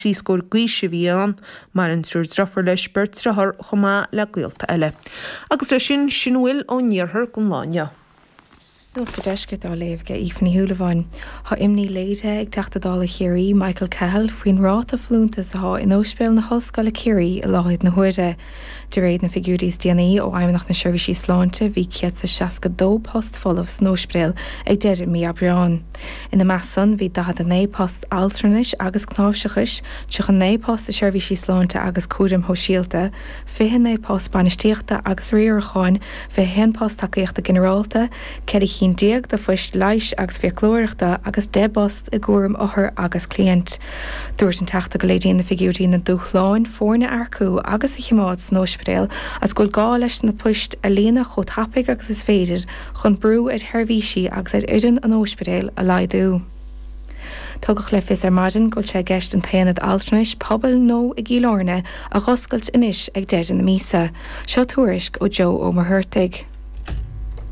Thrí scór d'aois a bhí ann. Maireann triúr driofúr leis, beirt driotháir chomh maith le gaolta eile. Agus leis sin, sin a bhfuil ón iarthar don lá inniu. Nuacht an Deiscirt á léamh ag Aoife Ní Shúilleabháin. Tá imní léirithe ag Teachta Dála Chiarraí, Michael Cahill, faoin ráta folúntas atá in Ospidéal na hOllscoile Ciarraí i láthair na huaire. De réir na figiúirí is déanaí ó Fheidhmeannacht na Seirbhísí Sláinte bhí 162 post folamh san ospidéal ag deireadh mí Aibreáin. Ina measc san bhí 49 post altranais agus cnáimhseachais, 39 post i seirbhísí sláinte agus cúraim shóisialta, 29 post bainistíochta agus riaracháin, 21 post tacaíochta ginearálta, 14 cinn de phoist leighis agus fiaclóireachta agus 10 bpost i gcúram othar agus cliant. Dúirt an Teachta go léiríonn na figiúirí na dúshláin foirne a earcú agus a choimeád san ospidéal agus go bhfuil gá leis na poist a líonadh chomh tapaidh agus is féidir chun brú ar sheirbhísí agus ar fhoireann an ospidéil a laghdú. Tugadh le fios ar maidin go bhfuil sé i gceist an t-aonad altranais pobail nua i gCill Airne a dh'oscailt anois ag deireadh na míosa. Seo tuairisc ó Joe Ó Muircheartaigh.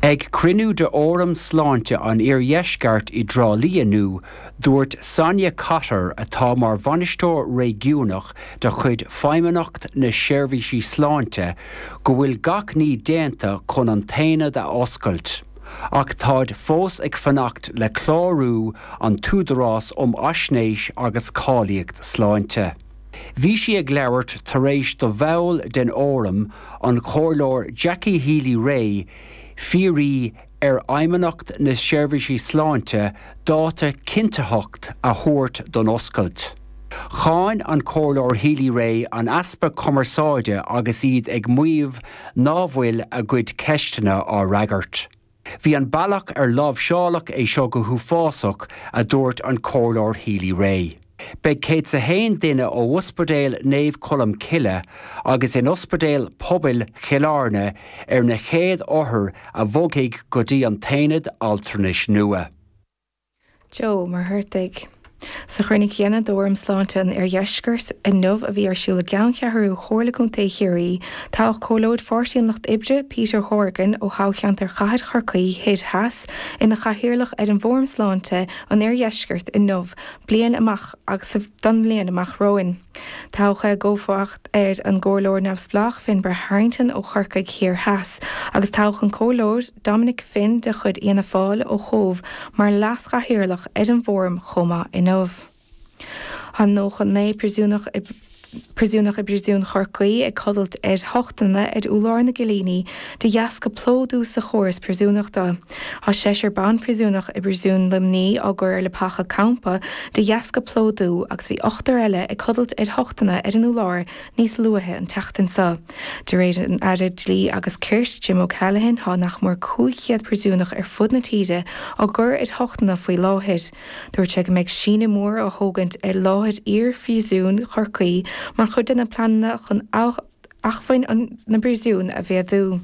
Ag cruinniú de Fhóram Sláinte an Iardheisceart i dTrá Lí inniu, dúirt Sonia Cotter, atá mar bhainisteoir réigiúnach de chuid Feidhmeannacht na Seirbhísí Sláinte, go bhfuil gach ní déanta chun an t-aonad a oscailt, ach táid fós ag fanacht le clárú an tÚdarás um Fhaisnéis agus Cáilíocht Sláinte. Bhí sí ag labhairt tar éis do bhall den Fhóram, an Comhairleoir Jackie Healy-Rae, fiafraí ar Fheidhmeannacht na Seirbhísí Sláinte dáta cinntitheach a thabhairt don oscailt. Cháin an Comhairleoir Healy-Rae an easpa cumarsáide agus iad ag maíomh ná bhfuil a gcuid ceisteanna á fhreagairt. Bhí an bealach ar láimhseáladh é seo go huafásach, a dúirt an Comhairleoir Healy-Rae. Beidh 101 duine ó Ospidéal Naomh Colm Cille agus in Ospidéal Pobail Chill Airne ar na chéad othair a bhogfaidh go dtí an t-aonad altranais nua. Joe Ó Muircheartaigh. Sa chruinniú céanna d'Fhóram Sláinte an Iardheiscirt inniu a bhí ar siúl i gceanncheathrú Chomhairle Contae Chiarraí, toghadh Comhairleoir Pháirtí an Lucht Oibre, Peter Horgan, ó thoghcheantar Chathair Chorcaí Thoir Theas, ina chathaoirleach ar an bhFóram Sláinte an Iardheiscirt inniu, bliain amach agus don bhliain amach romhainn. Toghadh i gcomharbacht ar an gComhairleoir neamhspleách Finbar Harrington ó Chorcaigh Thiar Theas agus toghadh an Comhairleoir Dominic Finn de chuid Fhianna Fáil ó Chóbh mar leas-chathaoirleach ar an bhfóram chomh maith inniu. Tá 99 príosúnach i Príosúnach i bPríosún Chorcaí ag codlait ar thochtanna ar urlár na gcillíní de dheasca plódú sa chóras príosúnachta. Tá seisear ban-phríosúnach i bPríosún Luimní á gcur ar leapacha campa de dheasca plódú agus bhí ochtar eile ag codlait ar thochtanna ar an urlár níos luaithe an tseachtain seo. De réir an Aire Dlí agus Cirt, Jim O'Callaghan, tá nach mór 500 príosúnach ar fud na tíre á gcur ar thochtanna faoi láthair. Dúirt sé go mbeidh síneadh mór á thógaint ar láthair iar-phríosún Chorcaí mar chuid de na pleananna chun acmhainn na bpríosún a mhéadú.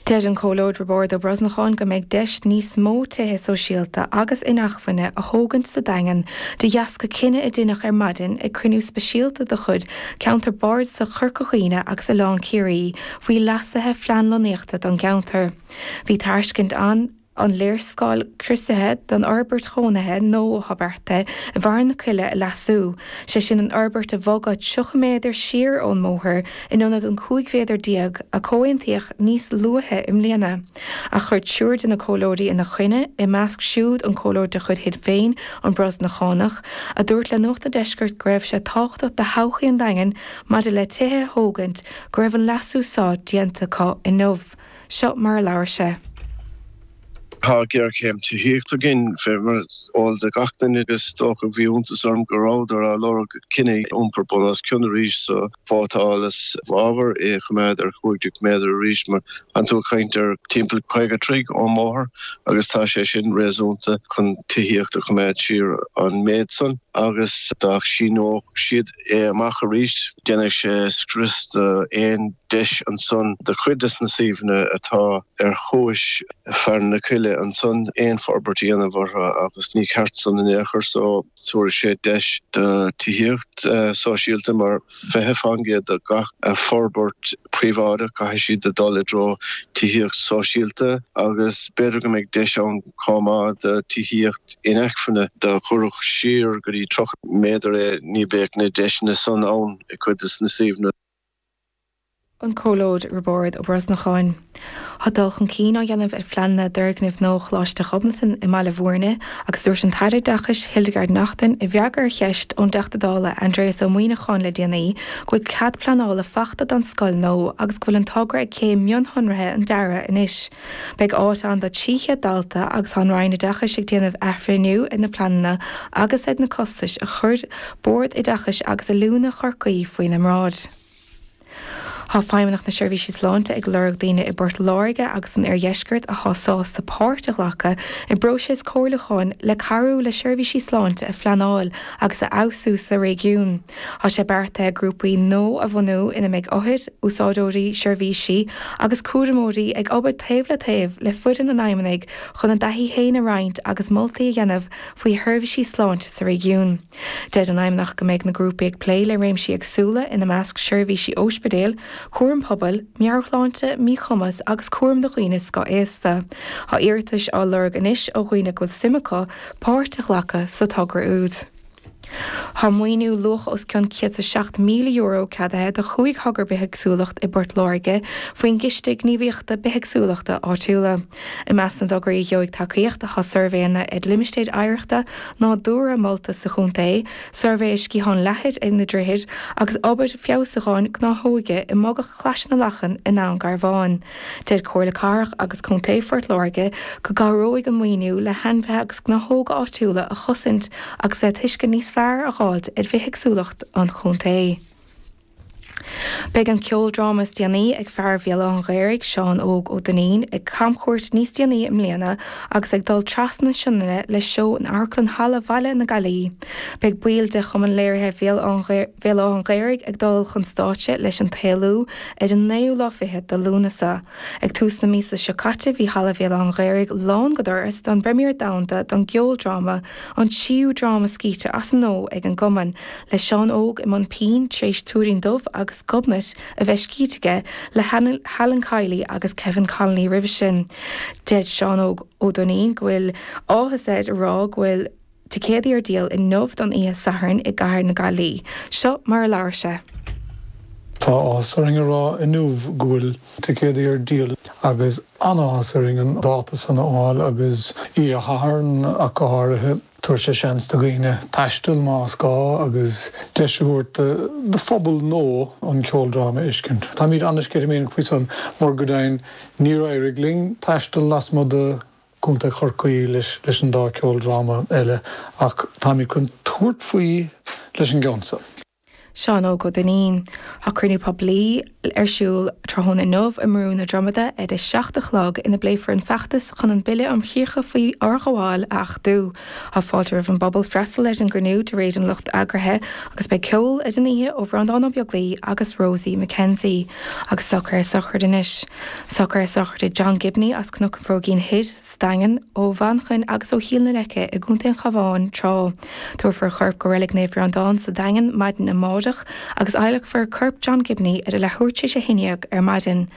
Deir an Comhairleoir Roibeárd Ó Brosnacháin go mbeidh deis níos mó tithe sóisialta agus inacmhainne a thógaint sa Daingean de dheasca cinneadh a deineadh ar maidin ag cruinniú speisialta de chuid Ceantar Bardasach Chorca Dhuibhne agus Oileán Ciarraí faoi leasuithe phlean lonnaíochta don gceantar. Bhí tairscint ann an léarscáil criosaithe don fhorbairt chónaithe nua atá beartaithe i bhFearann na Coille a leasú, sé sin an fhorbairt a bhogadh 30 méadar siar ón mbóthar in ionad an 15 mhéadar a comhaontaíodh níos luaithe i mbliana. Ach chuir triúr de na comhairleoirí ina choinne, i measc siúd an comhairleoir de chuid Shinn Féin, an Brosnachánach, a dúirt le Nuacht an Deiscirt go raibh sé tábhachtach do thodhchaí an Daingin maidir le tithe a thógaint go raibh an leasú seo déanta acu inniu. Seo mar a labhair sé. Tá géarchéim tithíochta againn, fé mar is eol do gach duine, agus is dócha bhí iontas orm go rabhadar á lorg cinneadh iompar bun os cionn arís so vótáil i bhfabhar é a choimeád ar 15 méadar arís mar tánn tú ag caint ar timpeall 50 troigh ón mbóthar agus tá sé sin réasúnta chun tithíocht a choimeád siar an méid san agus dá síneodh siad é amach arís déanfaidh sé scrios do aon deis ansan do chuid des na suíomhanna atá ar chuais Fearann na Coille ansan aon forbairt a dhéanamh orthu agus ní ceart san in aon chor so tabharfaidh sé deis do tithíocht sóisialta mar 20% de gach forbairt príobháideach caithfidh siad a dul i dtreo tithíocht sóisialta agus b'fhéidir go mbeidh deis ann chomh maith do tithíocht inacmhainne dá gcuirfeadh siar go dtí. uí 30 méadar é, ní bheadh na deiseanna san ann i cuid de na suíomhanna. An Comhairleoir Roibeárd Ó Brosnacháin. Tá dul chun cinn á dhéanamh ar phleananna d'fhoirgneamh nua Choláiste Ghobnatan i mBaile Bhúirne agus dúirt an tAire Oideachais Hildegarde Naughton i bhfreagra ar cheist ón dTeachta Dála Aindrias Ó Muimhneacháin le déanaí go bhfuil cead pleanála fachta don scoil nua agus go bhfuil an togra ag céim mionsonraithe an dearaidh anois. Beidh áit ann do 300 dalta agus tá an Roinn Oideachais ag déanamh athbhreithniú ar na pleananna agus ar na costais a chuir Bord Oideachais agus Oiliúna Chorcaí faoina mbráid. Tá Feidhmeannacht na Seirbhíse Sláinte ag lorg daoine i bPort Láirge agus san Oirdheisceart atá sásta páirt a ghlacadh i bpróiseas comhairliúcháin le cabhrú le seirbhísí sláinte a phleanáil agus a fheabhsú sa réigiún. Tá sé beartaithe grúpaí nua a bhunú ina mbeidh othair, úsáideoirí seirbhísí agus cúramóirí ag obair taobh le taobh le foireann an Fheidhmeannaigh chun a dtaithí féin a roinnt agus moltaí a dhéanamh faoi sheirbhísí sláinte sa réigiún. Deir an Fheidhmeannacht go mbeidh na grúpaí ag plé le réimsí éagsúla, ina measc seirbhísí óispidéil, cúram pobail, meabhairshláinte, míchumas agus cúram do dhaoine scothaosta. Tá iarratais á lorg anois ó dhaoine go bhfuil suim acu páirt a ghlacadh sa togra úd. Tá maoiniú luach os cionn €107,000 ceadaithe do chúig thogra bithéagsúlacht i bPort Láirge faoin gCiste Gníomhaíochta Bithéagsúlachta Áitiúla. I measc na dtograí a gheobhaidh tacaíocht tá suirbhéanna ar limistéir oidhreachta nádúrtha molta sa chontae, suirbhé ar sciathán leathair ar na droichid agus obair feabhsúcháin gnáthóige i mbogach Chlais na Lachan i nDún Garbhán. Deir Comhairle Cathrach agus Contae Phort Láirge go gcabhróidh an maoiniú le hainmhithe agus gnáthóga áitiúla a chosaint agus le tuiscint níos fearr a dh'fháilt ar bhithéagsúlacht an chontae. Beidh an ceoldráma is déanaí ag fear Bhéal Átha an Ghaorthaidh, Seán Óg Ó Duinnín, ag camchuairt níos déanaí i mbliana agus ag dul trasna na Sionainne le seó in Amharclann Halla Bhaile na Gaillimhe. Beidh baill de Chumann Léirithe Bhéal Átha an Ghaorthaidh ag dul chun stáitse leis An tÉalú ar an naoú lá fichead de Lúnasa. Ag tús na míosa seo caite bhí Halla Bhéal Átha an Ghaorthaidh lán go doras don bpremiere domhanda don gceoldráma, an tríú dráma scríte as an nua ag an gcumann, le Seán Óg i mbun pinn tar éis Tuairín Dubh agus Gobnait a bheith scríte aige le hAlan Kiely agus Kevin Connolly roimhe sin. Deir Seán Óg Ó Duinnín go bhfuil áthas air a rá go bhfuil ticéadaí ar díol inniu don oíche Sathairn i gcathair na Gaillimhe. Seo mar a labhair sé. Tá áthas orainn a rá inniu go bhfuil ticéadaí ar díol agus an-áthas orainn an dáta san a fháil agus oíche Shathairn ach go háirithe. Tabharfaidh sé seans do dhaoine taisteal más gá agus deis a thabhairt do phobal nua an ceoldráma a fheiscint. Táimid an-sceitimíneach faoi san mar go deimhin níor éirigh linn taisteal lasmuigh de Chontae Chorcaí leis an dá ceoldráma eile ach táimid chun tabhairt faoi leis an gceann seo. Seán Óg Ó Duinnín. Tá cruinniú poiblí ar siúl tráthnóna inniu i mBrú na Dromada ar a 7 a chlog ina bpléifear an feachtas chun an Bille um Chríocha faoi Fhorghabháil a achtú. Tá fáilte roimh an bpobal freastal ar an gcruinniú de réir an lucht eagraithe agus beidh ceol ar an oíche ó Bhreandán Ó Beaglaoi agus Rosie McKenzie. Agus socruithe sochraide anois. Socruithe sochraide John Gibney as Cnoc an Bhróigín Thoir, sa Daingean, ó Mhanchain agus ó Chill na Leice i gContae an Chabháin tráth. Tabharfar a chorp go Reilig Naomh Breandán sa Daingean maidin amárach agus adhlacfar corp John Gibney ar a leathuair tar éis a haon dhéag ar maidin.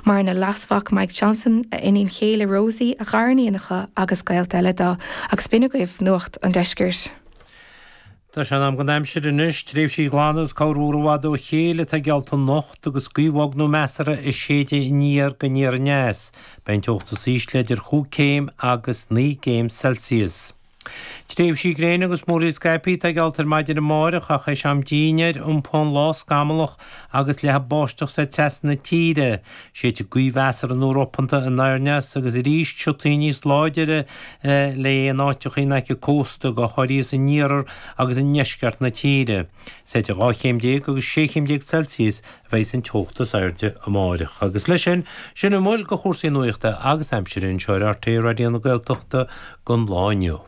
Maireann a leasmhac Mike Johnson, a iníon chéile Rosie, a ghariníonacha agus gaolta eile dó. Agus b'in agaibh Nuacht an Deiscirt. Tá sé in am don aimsir anois. Tréimhsí glana agus corrmhúr i bhfad ó chéile atá geallta anocht agus gaoth bhog nó measartha ag séideadh aniar go aniar aneas. Beidh an teocht is ísle idir chúig céim agus naoi gcéim Celsius. Tréimhsí gréine agus múraíl scaipthe atá geallta ar maidin amáireach ach théis am dinnéir iompóidh an lá scamallach agus leathfaidh báisteach soir trasna na tíre. Séidfidh gaoth mheasartha nó ropanta anoir-aneas agus arís siotaí níos láidire le in áiteacha in aice cósta, go háirithe san iarthar agus i ndeisceart na tíre. Is idir 12 chéim agus 16 chéim Celsius a bheidh an teocht is airde amáireach. Agus leis sin, sin a bhfuil de chúrsaí nuachta agus aimsire anseo ar RTÉ Raidió na Gaeltachta don lá inniu.